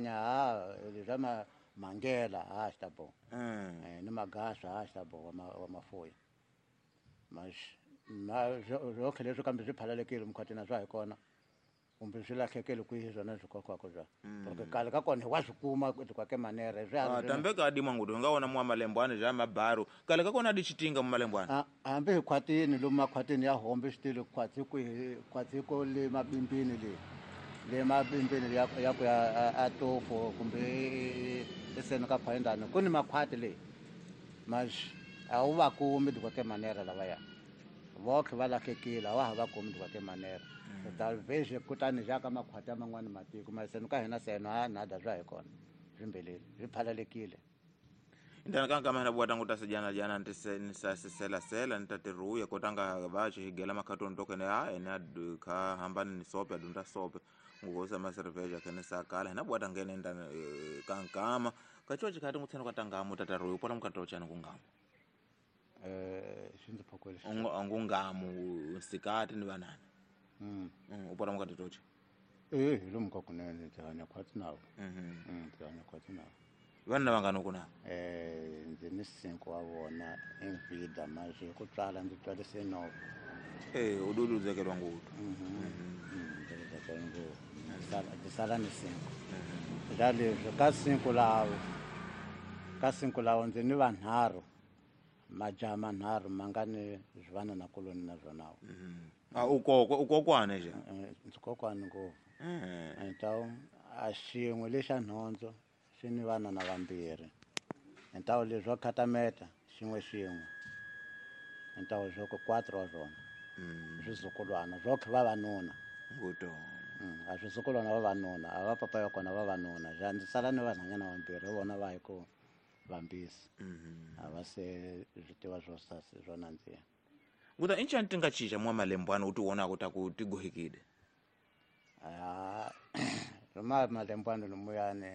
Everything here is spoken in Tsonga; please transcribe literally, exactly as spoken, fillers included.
Ha leswa ma mangela ha xi ta boha. Mm. Eh, ni magasa ha xi ta boha wa ma- wa mafuya mas ma zwotlhe leswi kambe swi phalalekile mukhatini swa hi kona kumbe swi lahlekele kwihi swona swi kokwako bya porque kale ka kona hi wa swi kuma kwake manere swi Ah, tambe ka adimwa ngudu nga wona mwa malembwana ja mabaru kale ka kona adi chitinga mu malembwana. Ah, hambi hi khwatini lomu makhwatini ya hombe swi tile khwatsi kwihi khwatsi ko le mabimbini le le mabimbini ya ya ku ya a- a tofo kumbe eseni ka phayindani ku ni makhwati le mas a wu va kumi dikwake manere lavaya votlhe va lahlekile a wa ha va kumi dikwake manere ta veze kutani ja ka makhwati ya man'wani matiko maseni ka hina seno a nada swa hi kona swimbeleli swi phalalekile. Ndana ka nkama hina bwata nguta sejana jana ntise nisa sisela sela nitatiruya kotanga vache higela makhatoni tokene a ene adu ka hambani ni sope adunda sope ngukosa maserveja kene sakala hina bwata ngene ndana eh, kankama kacho chikati ngutsena katangamu tataruya upona mukatochana kungamu. Eh, xi ndzi phokwele. Ngungamu nsikati ni vanana. Mm. Mm, upona mukatitocha. Eh, hi lomu ka kunene ndzi hanya khwatsi navo. Mhm. Mm, ndzi hanya khwatsi navo. Vanna vangani kuna? Eh, ndzi ni cinco wa vona envida mas hi ku tswala ndzi tswarise nove. Eh, udududzekelwa ngudu. Ndzi ri ngopfu ndzi sala ndzi sala ni cinco ja leswi ka cinco lavo ka cinco lavo ndzi ni vanharhu majaha manharhu ma nga ni swivanana kuloni na swona. Ah, ukokwa ukokwane nje. Eh, ndzi kokwani ngopfu. Eh. Então a xin'we lexa nhondzo xi ni vana na vambirhi então leswo khatameta xin'we xin'we então swo ku quatro wa swona swizukulwana swotlhe vavanuna. Nguto. Mm, a swizukulwana vavanuna a va papa ya kona vavanuna ja ndzi sala ni vanhwanyana vambirhi vona va hi ku vambisi a va se swi tiva swo sasi swo nandziha. Nguta inchani tinga chicha mwa malembwana uti wonako taku tigohekide. Ah, roma malembwana lomuyani.